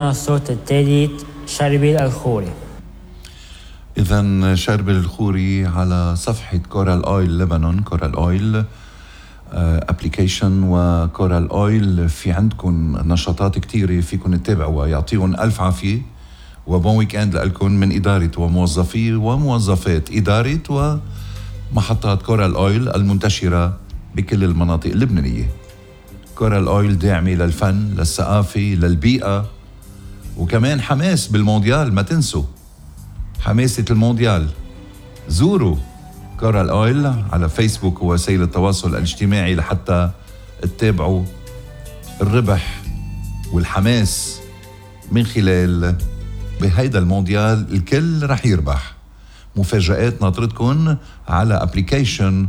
الصوت الثالث شربل الخوري. إذن شربل الخوري على صفحة كورال أويل لبنان، كورال أويل ابليكيشن وكورال أويل. في عندكم نشاطات كتيرة فيكم تتابعوها، يعطيهم ألف عافية وبون ويكند لكم من إدارة وموظفي وموظفات إدارة ومحطات كورال أويل المنتشرة بكل المناطق اللبنانية. كورال أويل داعمة للفن، للثقافة، للبيئة، وكمان حماس بالمونديال. ما تنسوا حماسة المونديال. زوروا كورال أويل على فيسبوك ووسائل التواصل الاجتماعي لحتى تتابعوا الربح والحماس من خلال بهيدا المونديال. الكل رح يربح. مفاجآت ناطرتكم على ابليكيشن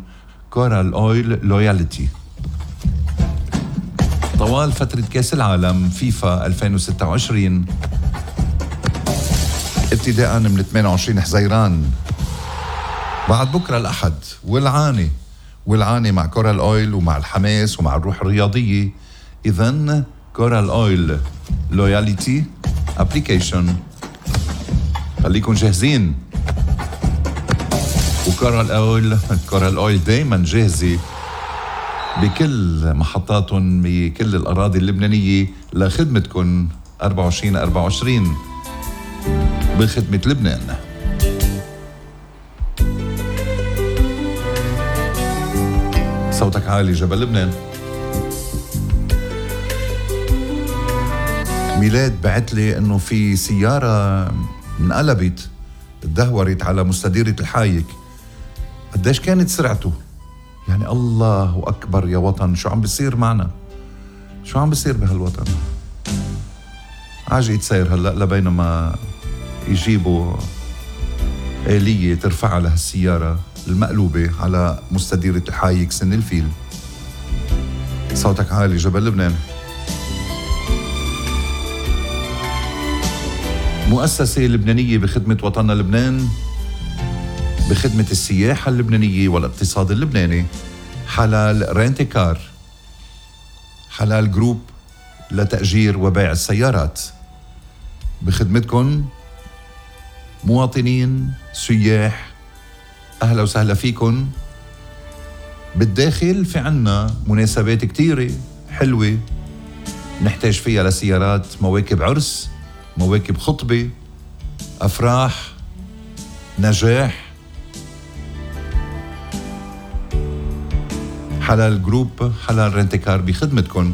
كورال أويل لويالتي طوال فترة كاس العالم فيفا 2026 ابتداء من 28 حزيران بعد بكرة الأحد. والعاني مع كورال أويل ومع الحماس ومع الروح الرياضية. إذن كورال أويل لويالتي ابليكيشن، خليكن جاهزين. وكورال أويل دايما جاهزة بكل محطاتهم بكل الأراضي اللبنانية لخدمتكم 24/24 بخدمة لبنان. صوتك عالي جبل لبنان. ميلاد بعتلي انه في سيارة انقلبت اتدهورت على مستديرة الحايك. قديش كانت سرعته؟ يعني الله أكبر يا وطن، شو عم بيصير معنا؟ شو عم بيصير بهالوطن؟ عاجي يتسير هلأ لبينما يجيبوا آلية ترفعها لهالسيارة المقلوبة على مستديرة الحايك سن الفيل. صوتك عالي جبل لبنان. مؤسسة لبنانية بخدمة وطننا لبنان، بخدمة السياحة اللبنانية والاقتصاد اللبناني. حلال رينتيكار، حلال جروب لتأجير وبيع السيارات. بخدمتكم مواطنين سياح، أهلا وسهلا فيكم. بالداخل في عنا مناسبات كتيرة حلوة نحتاج فيها لسيارات، مواكب عرس، مواكب خطبة، أفراح، نجاح. حلال جروب، حلال رينتيكار بخدمتكم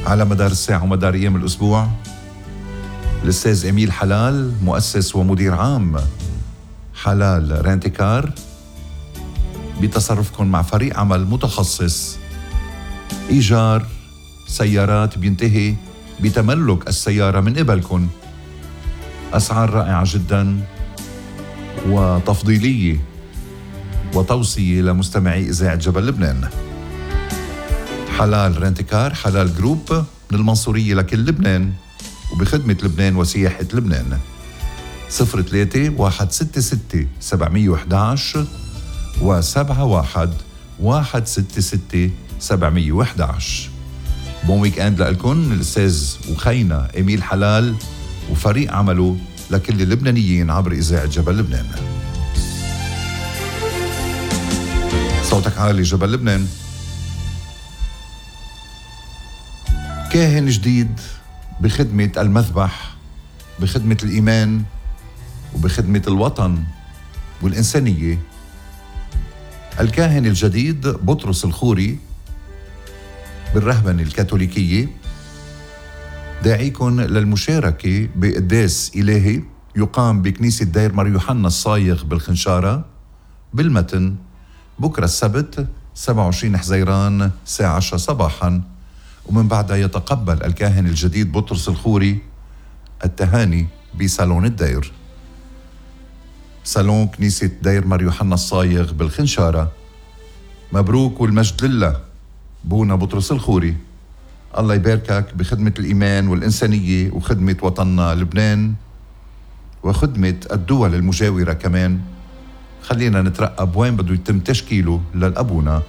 على مدار الساعة ومدار أيام الأسبوع. الأستاذ إميل حلال مؤسس ومدير عام حلال رينتيكار بتصرفكم مع فريق عمل متخصص إيجار سيارات بينتهي بتملك السيارة من قبلكم. أسعار رائعة جدا وتفضيلية وتوصية لمستمعي إذاعة جبل لبنان. حلال رينتيكار، حلال جروب من المنصورية لكل لبنان وبخدمة لبنان وسياحة لبنان. 03-166-711 و71-166-711. بون ويكند لكم. الأستاذ وخينا إميل حلال وفريق عمله لكل اللبنانيين عبر إذاعة جبل لبنان. صوتك عالي جبل لبنان. كاهن جديد بخدمة المذبح، بخدمة الإيمان وبخدمة الوطن والإنسانية. الكاهن الجديد بطرس الخوري بالرهبنة الكاثوليكية داعيكم للمشاركة بقداس إلهي يقام بكنيسة دير مار يوحنا الصايغ بالخنشارة بالمتن بكرة السبت 27 حزيران الساعة 10 صباحا. ومن بعدها يتقبل الكاهن الجديد بطرس الخوري التهاني بصالون الدير، صالون كنيسة دير مار يوحنا الصايغ بالخنشارة. مبروك والمجد لله بونا بطرس الخوري. الله يباركك بخدمة الإيمان والإنسانية وخدمة وطننا لبنان وخدمة الدول المجاورة كمان. خلينا نترقب وين بده يتم تشكيله للأبونا